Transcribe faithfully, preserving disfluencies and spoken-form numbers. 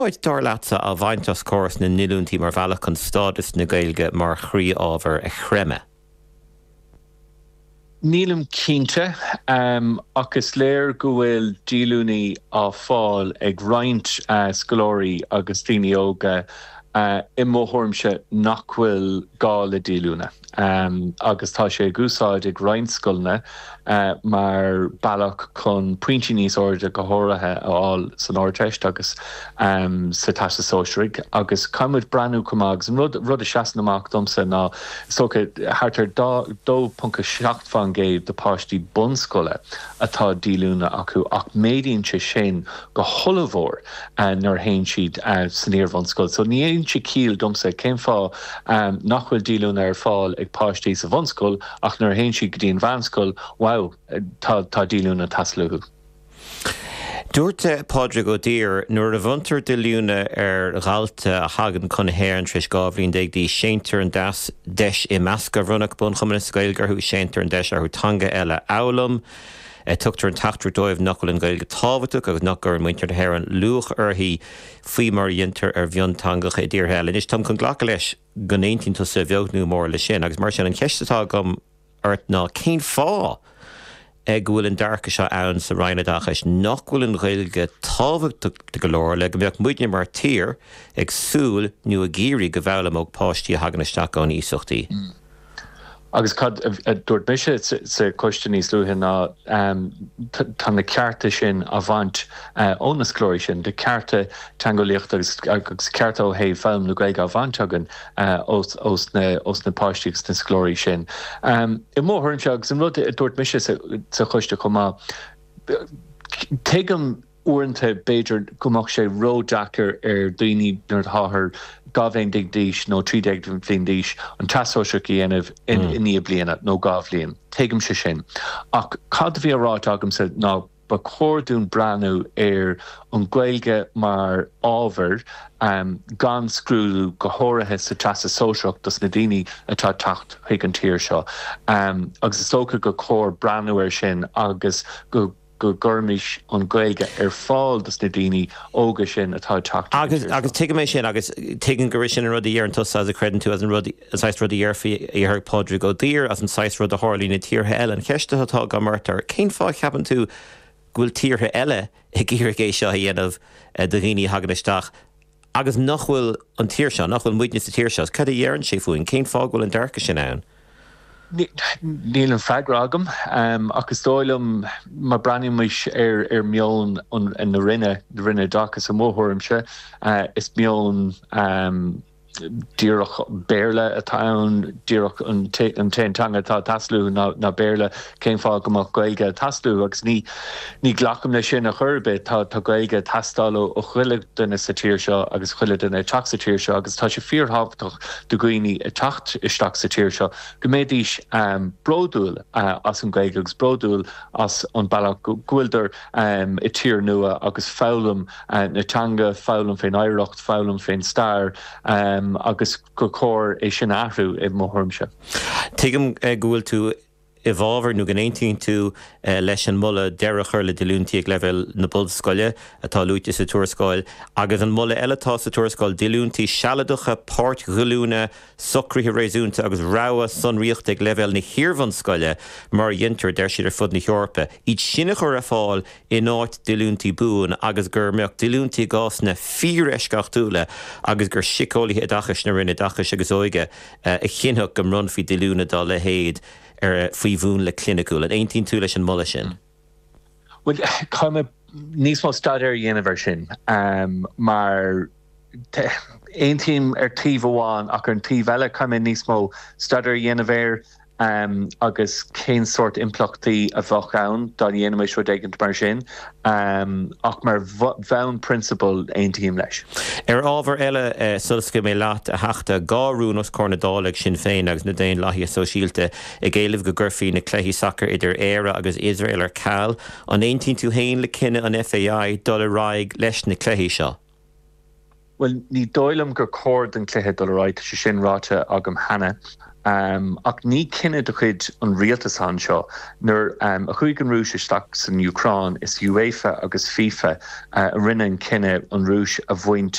Dar leatsa á bhaint as córas na ndíolúintí mar bhealach chun stádas na Gaeilge mar chroí-ábhar a chreimeadh. Nílim cinnte um, ach is léir go bhfuil díolúintí á fáil ag roinnt uh, scoláirí agus daoine óga uh, i mo thuairimse nach bhfuil gá le díolúine. Um, agus tá sé á úsáid ag roinnt scoileanna uh, mar bealach chun pointí níos airde go háirithe a fháil san Ardteist agus um, sa Teastas Sóisearach agus caithfimid breathnú chomh maith agus an rud, rud a sheasann amach domsa ná so thart ar dó ponc seacht faoin gcéad de páistí bunscoile atá díolúine acu ach méadaíonn sé sin go hollmhór uh, nuair a théann siad uh, san iarbhunscoil. So ní dhéanann sé ciall domsa cén fáth um, nach bhfuil díolúine ar fáil ag páistí sa bhunscoil ach nuair a théann siad go dtí an mheánscoil wow tá tá díolúine ag teastáil uathu. Dúirt Pádraig Ó Duibhir nuair a bhronntar díolúine ar dhalta a thagann chun na hÉireann tar éis dhá bhliain déag d'aois séantar an deas deis imeasctha a bhronnadh Bunchumann na Gaeilge orthu séantar an deis orthu teanga eile a fhoghlaim. Tugtar an teachtaireacht dóibh nach bhfuil an Ghaeilge tábhachtach agus nach gcuireann muintir na hÉireann luach uirthi faoi mar a dhéantar ar mhionteangacha i dtíortha eile. Anois táim chun glacadh leis go n-aontaíonn tusa beag nó mór leis sin, agus mar sin an cheist atá agam ort ná cén fáth go bhfuil an dearcadh seo ann sa Roinn Oideachais nach bhfuil an Ghaeilge tábhachtach go leor le go mbeadh muidne mar tír ag súil nó ag iarraidh go bhfoghlaimeodh páistí a thagann isteach ón iasacht í. Mm. Agus cad a dúirt mise sa choiste níos luaithe ná tá na cearta sin á bhaint ó na scoláirí sin de cearta teangeolaíochta agus agus cearta ó thaobh foghlaim na Gaeilge á bhaint againn ós ós na páistí agus na scoláirí sin. I mo thuairimse agus an rud a dúirt mise sa choiste chomh maith tuigim uaireanta b'fhéidir go mbeadh sé ródheacair ar daoine nuair atáthar dhá bhliain déag d'aois nó trí déag bhliain d'aois an Teastas Sóisearach a dhéanamh in mm. i ndiaidh bliana nó dhá bhliain. Tuigimse sin. Ach cad a bhí á rá agamsa ná ba chóir dúinn breathnú ar an Ghaeilge mar ábhar um, gan scrúdú go háirithe sa Teastas Sóisearach dos na daoine atá ag teacht chuig an tír seo. Um, agus is dócha gur chóir breathnú ar sin agus go go gcuirfimis an Ghaeilge ar fáil dos na daoine óga sin atá ag teacht. Agus agus tuigim é sin agus tuigim gur sin an rud a deireann tusa as a chreideann tú as an rud an saghas rud a dhéarfaí ar Pádraig Ó Duibhir as an saghas rud a tharlaíonn i tíortha eile an cheist atá agam ort cén fáth a cheapann tú go bhfuil tíortha eile ag iarraidh é seo a dhéanamh eh, do dhaoine a thagann isteach agus nach bhfuil an tír seo nach bhfuil muidne sa tír seo, cad a deireann sé fúinn cén fáth go bhfuil an dearcadh sin ann. Níl an freagra agam um, ach is dóigh liom má bhreathnaímis ar ar meon an na Roinne na Roinne Oideachais i mo thuairimse uh, is meon um, díreach Béarla atá ann díreach an t-aon teanga atá ag teastáil ná ná Béarla cén fáth go mbeadh Gaeilge ag teastáil agus ní ní glacaim leis sin a chor ar bith tá tá Gaeilge ag teastáil ó chuile duine sa tír seo agus chuile duine ag teacht sa tír seo agus tá sé fíorthábhachtach do dhaoine ag teacht isteach sa tír seo go mbeidís um, bródúil uh, as an Ghaeilge agus bródúil as an bealach go bhfuiltear um, i tír nua agus foghlaim uh, na teanga foghlaim fén oidhreacht foghlaim fén stair um, agus gur chóir é sin athrú i mo thuairimse. Tuigim eh, go bhfuil tú i bhfabhar nó go n-aontaíonn tú eh, leis an moladh deireadh a chur le díolúintí ag leibhéal na bunscoile atá luaite sa tuarascáil, agus an moladh eile atá sa tuarascáil díolúintí sealadacha páirt-dhíolúine socruithe réasúnta agus rogha sonraíochta ag leibhéal na hiarbhunscoile mar a dhéantar deir siad ar fud na hEorpa. Iad sin a chur ar fáil in áit díolúintí buan agus go mbeadh díolúintí i gcásanna fíoreisceachtúla agus gur síceolaithe oideachais na Roinne Oideachais agus Óige eh, a chinnfeadh go mbronnfaí díolúine dá leithéid ar faoi mhúnla cliniciúil an aontaíonn tú leis an moladh sin. Well caithfidh mé níos mó staidéir a dhéanamh air sin um, mar aontaím ar taobh amháin ach ar an taobh eile caithfidh mé níos mó staidéir a dhéanamh air um, agus cén sórt impleachtaí a bheadh ann dá ndéanfaimis rud éigin mar sin um, ach mar bhonn prionsabal aontaím leis. Ar ábhar eile eh, sula scaoilfidh mé leat a Theachta dhá rún os comhair na Dála ag Sinn Féin agus na Daonlathaithe Sóisialta ag éileamh go gcuirfí na cluichí sacair idir Éire agus Iosrael ar ceal, an aontaíonn tú féin le cinneadh an FAI dul ar aghaidh leis na cluichí seo. Well ní dóigh liom gur chóir don chluiche dul ar aghaidh sé sin ráite agam cheana. Um, ach ní cinneadh de chuid an rialtas anseo nuair um, a chuaigh an Rúis isteach san Úcráin is UEFA agus FIFA uh, a rinne an cinneadh an Rúis a bhaint